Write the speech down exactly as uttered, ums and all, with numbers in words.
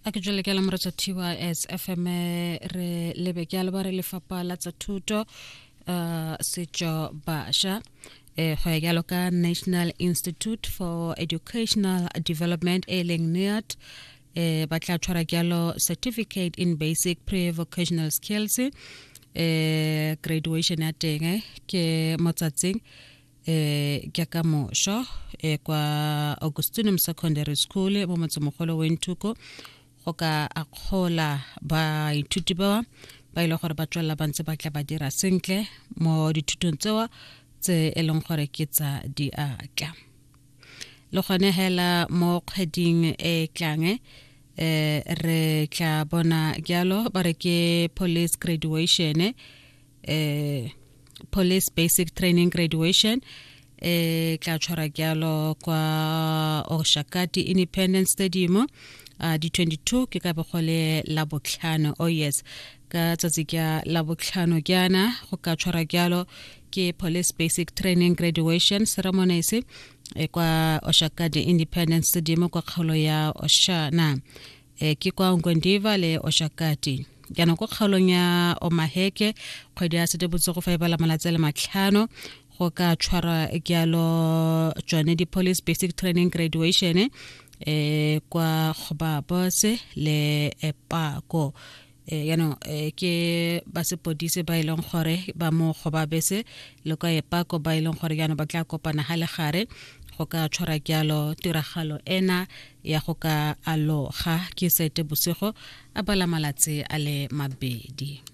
A ke jwale ke la moretsa T Y S F M, re lebe ke a le ba re Lefapha la tsa Thuto, uh, Setšo, Bašwa, eh go ya jalo ka National Institute for Educational Development, e leng N I E D, eh ba tla tshwara jalo Certificate in Basic Pre-Vocational Skills. eh graduation ya teng eh, ke motsatsing eh ke ka mosho eh kwa Augustinum Secondary School mo motsemogolo Windhoek, go ka akgola baithuti ba ba ile gore ba tswelela ba ntse ba tla ba dira sentle mo dithutong tseo tse e leng gore ke tsa diatla. Le gone hela mo kgweding e tlang eh re tla bona jalo ba re ke police graduation, eh police basic training graduation, e tla tshwara jalo kwa Oshakati Independence Stadium, uh, di twenty-two, ke ka be go le la botlhano. Oh yes, ka tsatsi ka la botlhano jaana go ka tshwara jalo ke police basic training graduation ceremonies e kwa Oshakati Independence Stadium kwa kgaolo ya Oshana, e ke kwa Ongwediva le Oshakati. Jaanong ko kgaolong ya Omaheke, kgwedi ya Seetebosigo fa e bala malatsi a le matlhano, go ka tshwara jalo tsone di-police basic training graduation eh kwa Gobabose le Epako. eh yaanong eh, ke ba sepodisi ba e leng gore ba mo Gobabese le kwa Epako, ba e leng gore jaanong ba tla kopana ga legare go ka tshwara jalo tiragalo ena ya go ka aloga, ke Seetebosigo a bala malatsi a le mabedi.